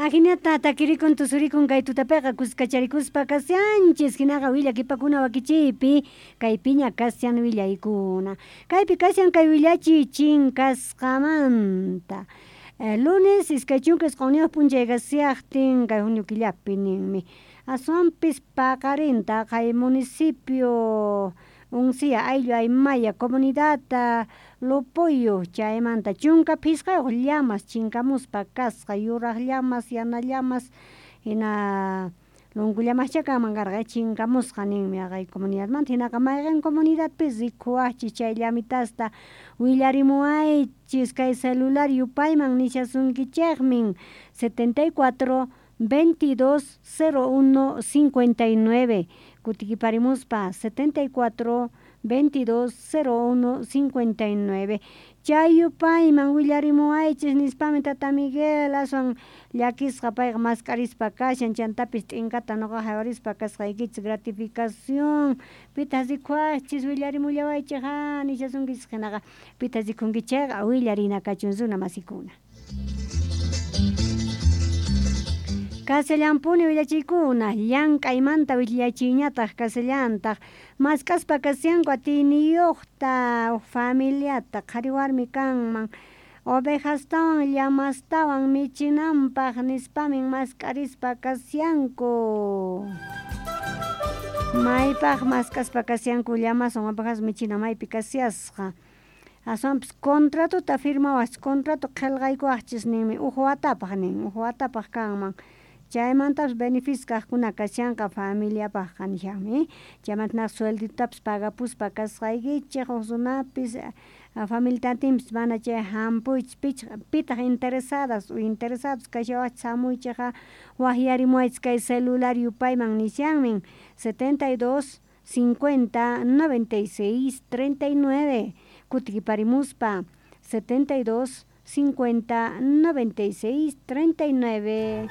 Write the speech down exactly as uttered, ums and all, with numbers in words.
Ajinata takirikun tusurikun kay tutapiqa kuskacharikuspa kashanchis, hinaqa willakipakuna wakichiypi kaypiña kashan willaykuna. Kaypi kashan kay willachiy chinkasqamanta. Lunes iskay chunka isq'unniyuq p'unchay kashaqtin kay junio killapi ninmi. Aswanpis paqarinta kay municipio Uncía ayllu Aymaya comunidad Lopoyo chaymanta chunka phisqayuq llamas chinkamuspa kasqa yuraq llamas yana llamas hina lunku llamascha kanman karqa chinkamusqa ninmi haqay comunidadmanta hinaqa mayqen comunidadpis rikuwaqchis chay llamitasta willarimuwaychis kay celular yupayman nishasunkichikmin setenta y cuatro veintidós cero uno cincuenta y nueve kutikiparimuspa setenta y cuatro veintidós cero uno cincuenta y nueve chay yupayman willarimuwaychis nispami tata Miguel aswan llakisqa payqa mask'arispa kashan chantapis t'inkata noqa haywarispa kasqaykichis gratificación pitaq rikuwaqchis willarimullawaychik ha nishasunkichis hinaqa pitaq rikunkichis chayqa willarina kachun runa masikuna. Kashallampuni willachiykuna llank'aymanta willachiyñataq kashallantaq mask'aspa kashanku atiyniyuqta familiata qhari warmi kanman ovejastawan llamastawan michinanpaq nispamin mask'arispa kashanku. Maypaq mask'aspa kashanku llamaswan ovejas michina maypi kashasqa. Aswanpis contratota firmawaqchis contrato qillqaykuwaqchis ninmi uj watapaq nin uj watapaq kanman chaymantapis beneficio kaqkuna kashanqa familiapaqqa nishanmi chaymanta suelditapis pagapuspa kasqaykichik huk runapis familiatinpis mana chay hampuychis pichaq pitaq interesadas o interesados kashawaqchis hamuychikqa waqyarimuwaychis kay celular yupayman nishanmin setenta y dos cincuenta noventa y seis treinta y nueve kutikiparimuspa setenta y dos cincuenta noventa y seis treinta y nueve.